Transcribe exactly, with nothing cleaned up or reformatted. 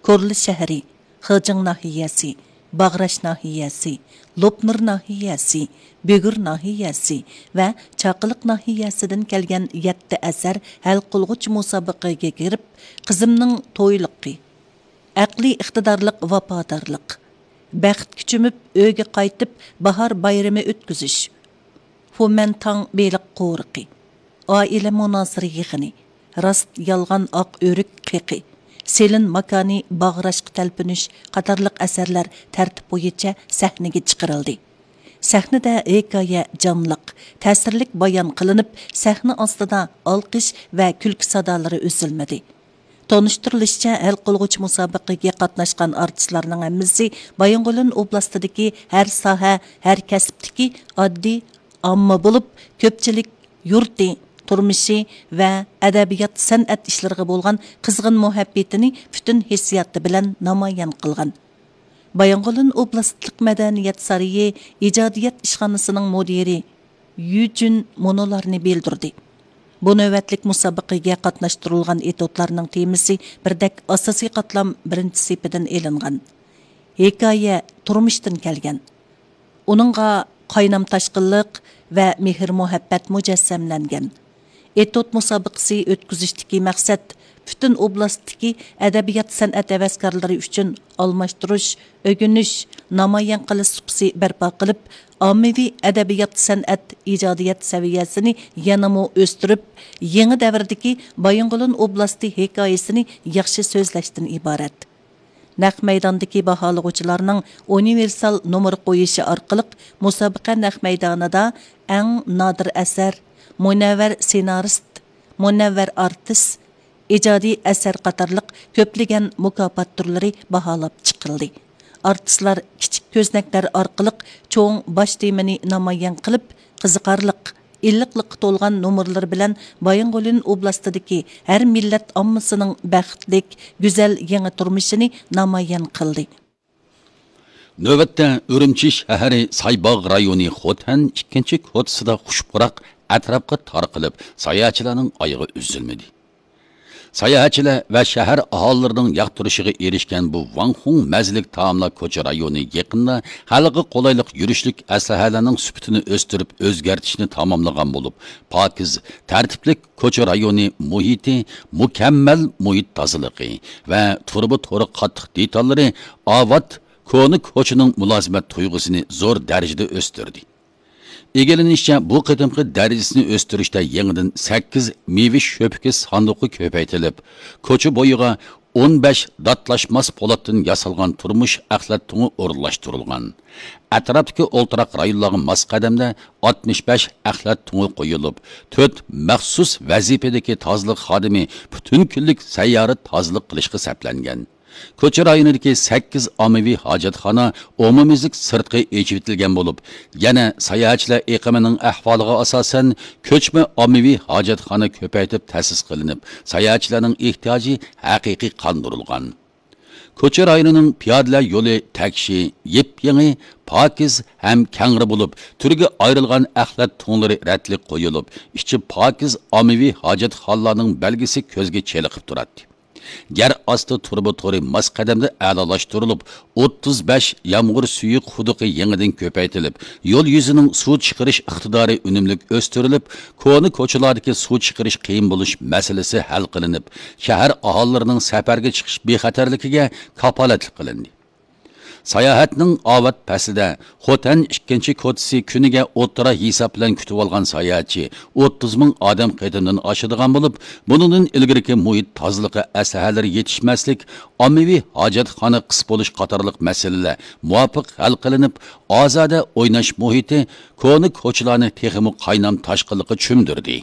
كورلا شەھىرى، خېجىڭ ناھىيەسى، باغراش ناھىيەسى، لوپنۇر ناھىيەسى، بۈگۈر ناھىيەسى ۋە چاقىلىق ناھىيەسىدىن كەلگەن يەتتە ئەسەر ھەل قىلغۇچ مۇسابىقىگە كىرىپ، قىزىمنىڭ تويلۇقى، ئەقلىي ئىقتىدارلىق ۋاپادارلىق، بەختكە چۆمۈپ ئۆيگە قايتىپ باھار بايرىمى ئۆتكۈزۈش، فۇمەنتاڭ بېلىق قورۇقى، ئائىلە مۇنازىرە يىغىنى، راست يالغان ئاق ئۆرۈك قېقى، سېلىن ماكانى باغراشقا تەلپۈنۈش قاتارلىق ئەسەرلەر تەرتىپ بويىچە سەھنىگە چىقىرىلدى. سەھنىدە ھېكايە جانلىق، تەسىرلىك بايان قىلىنىپ، سەھنە ئاستىدا ئالقىش ۋە كۈلكە سادالىرى ئۈزۈلمىدى. تونۇشتۇرۇلۇشىچە، ھەل قىلغۇچ مۇسابىقىگە قاتناشقان ئارتىسلارنىڭ ھەممىسى بايىنغولىن ئوبلاستىدىكى ھەر ساھە، ھەر كەسىپتىكى ئاددىي ئامما بولۇپ، كۆپچىلىك يۇرتى، تۇرمۇشى ۋە ئەدەبىيات، سەنئەت ئىشلىرىغا بولغان قىزغىن مۇھەببىتىنى پۈتۈن ھېسسىياتى بىلەن نامايان قىلغان. بايىنغولىن ئوبلاستلىق مەدەنىيەت سارىيى ئىجادىيەت ئىشخانىسىنىڭ مۇدىرى يۈجۈن مۇنۇلارنى بىلدۈردى. بۇ نۆۋەتلىك مۇسابىقىگە قاتناشتۇرۇلغان ئېتوتلارنىڭ تېمىسى بىردەك ئاساسىي قاتلام بىرىنچى سېپىدىن ئېلىنغان. ھېكايە تۇرمۇشتىن كەلگەن. ئۇنىڭغا قاينام تاشقىنلىق ۋە مېھىر-مۇھەببەت مۇجەسسەملەنگەن. ئېتوت مۇسابىقىسى ئۆتكۈزۈشتىكى مەقسەت پۈتۈن ئوبلاستتىكى ئەدەبىيات، سەنئەت ھەۋەسكارلىرى ئۈچۈن ئالماشتۇرۇش، ئۆگىنىش، نامايان قىلىش سۇپىسى بەرپا قىلىپ، ئاممىۋى ئەدەبىيات، سەنئەت، ئىجادىيەت سەۋىيەسىنى يەنىمۇ ئۆستۈرۈپ، يېڭى دەۋردىكى بايىنغولىن ئوبلاستى ھېكايىسىنى ياخشى سۆزلەشتىن ئىبارەت. نەق مەيداندىكى باھالىغۇچىلارنىڭ ئۇنىۋېرسال نومۇر قويۇشى ئارقىلىق مۇسابىقە نەق مەيدانىدا ئەڭ نادىر ئەسەر، مۇنەۋۋەر سېنارىست، مۇنەۋۋەر ئارتىس، ئىجادىي ئەسەر قاتارلىق كۆپلىگەن مۇكاپات تۈرلىرى باھالاپ چىقىلدى. ئارتىسلار كىچىك كۆزنەكلەر ئارقىلىق چوڭ باش تېمىنى نامايان قىلىپ، قىزىقارلىق، ئىللىقلىققا تولغان نومۇرلىرى بىلەن بايىنغولىن ئوبلاستىدىكى ھەر مىللەت ئاممىسىنىڭ بەختلىك، گۈزەل يېڭى تۇرمۇشىنى نامايان قىلدى. نۆۋەتتە ئۈرۈمچى شەھىرى سايباغ رايونى خوتەن ئىككىنچى كوچىسىدا خۇش پۇراق ئەتراپقا تارقىلىپ، ساياھەتچىلەرنىڭ ئايىغى ئۈزۈلمىدى. ساياھەتچىلەر ۋە شەھەر ئاھالىلىرىنىڭ ياقتۇرۇشىغا ئېرىشكەن بۇ ۋاڭخۇڭ مەززىلىك تائاملار كوچا رايونى يېقىندا خەلققە قولايلىق يۈرۈشلۈك ئەسلىھەلەرنىڭ سۈپىتىنى ئۆستۈرۈپ ئۆزگەرتىشنى تاماملىغان بولۇپ، پاكىز، تەرتىپلىك كوچا رايونى مۇھىتى، مۇكەممەل مۇھىت تازىلىقى ۋە تۇرۇبا تورى قاتتىق دېتاللىرى ئاۋات كونا كوچىنىڭ مۇلازىمەت تۇيغۇسىنى زور دەرىجىدە ئۆستۈردى. ئىگىلىنىشىچە، بۇ قېتىمقى دەرىجىسىنى ئۆستۈرۈشتە يېڭىدىن سەككىز مېۋە شۆپىكى ساندۇقى كۆپەيتىلىپ، كوچا بويىغا ئون بەش داتلاشماس پولاتتىن ياسالغان تۇرمۇش ئەخلەت تۇڭى ئورۇنلاشتۇرۇلغان. ئەتراپتىكى ئولتۇراق رايونلارغا ماس قەدەمدە ئاتمىش بەش ئەخلەت تۇڭى قويۇلۇپ، تۆت مەخسۇس ۋەزىپىدىكى تازىلىق خادىمى پۈتۈن كۈنلۈك سەييارە تازىلىق قىلىشقا سەپلەنگەن. كوچا رايونىدىكى سەككىز ئاممىۋى ھاجەتخانا ئومۇميۈزلۈك سىرتقى ئېچىۋېتىلگەن بولۇپ، يەنە ساياھەتچىلەر ئېقىمىنىڭ ئەھۋالىغا ئاساسەن، كۆچمە ئاممىۋى ھاجەتخانا كۆپەيتىپ تەسىس قىلىنىپ، ساياھەتچىلەرنىڭ ئېھتىياجى ھەقىقىي قاندۇرۇلغان. كوچا رايونىنىڭ پىيادىلەر يولى تەكشى، يېپيېڭى، پاكىز ھەم كەڭرى بولۇپ، تۈرگە ئايرىلغان ئەخلەت تۇڭلىرى رەتلىك قويۇلۇپ، ئىچى پاكىز ئاممىۋى ھاجەتخانىلارنىڭ بەلگىسى كۆزگە چېلىقىپ تۇراتتى. يەر ئاستى تۇرۇبا تورى ماس قەدەمدە ئەلالاشتۇرۇلۇپ، ئوتتۇز بەش يامغۇر سۈيى قۇدۇقى يېڭىدىن كۆپەيتىلىپ، يول يۈزىنىڭ سۇ چىقىرىش ئىقتىدارى ئۈنۈملۈك ئۆستۈرۈلۈپ، كونا كوچىلاردىكى سۇ چىقىرىش قىيىن بولۇش مەسىلىسى ھەل قىلىنىپ، شەھەر ئاھالىلىرىنىڭ سەپەرگە چىقىش بىخەتەرلىكىگە كاپالەتلىك قىلىندى. ساياھەتنىڭ ئاۋات پەسلىدە خوتەن ئىككىنچى كوچىسى كۈنىگە ئوتتۇرا ھېساب بىلەن كۈتۈۋالغان ساياھەتچى ئوتتۇز مىڭ ئادەم قېتىمدىن ئاشىدىغان بولۇپ، بۇنىڭدىن ئىلگىرىكى مۇھىت تازىلىقى ئەسلىھەلىرى يېتىشمەسلىك، ئاممىۋى ھاجەتخانا قىس بولۇش قاتارلىق مەسىلىلەر مۇۋاپىق ھەل قىلىنىپ، ئازادە ئويناش مۇھىتى كونا كوچىلارنى تېخىمۇ قاينام تاشقىنلىققا چۆمدۈردى.